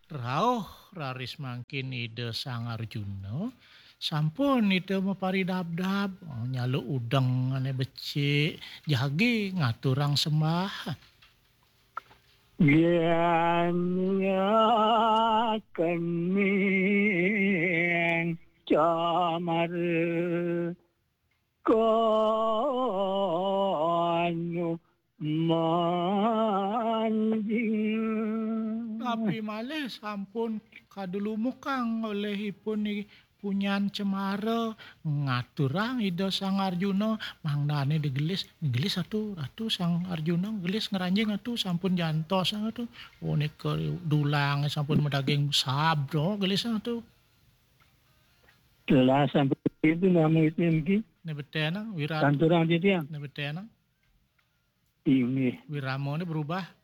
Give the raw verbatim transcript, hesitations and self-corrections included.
Rauh raris mangkin Ida Sang Arjuna, sampun Ida maparidabdab, oh, nyaluk udeng ané becik, jagi ngaturang sembah. Yén kening camar kanu manjing. Tapi malih sampun kadulumukang olih ipun ni punyan cemara ngaturang Ida Sang Arjuna, mangdané digelis, gelis atu, atu Sang Arjuna gelis ngranjing atu, sampun jantos atu. Oh, nika dulang sampun madaging sab to, gelis atu. Telah sampun itu nama itu niki. Né betenang, wirat. Kanturang titiang. Né betenang. Inggih. Wiramané berubah.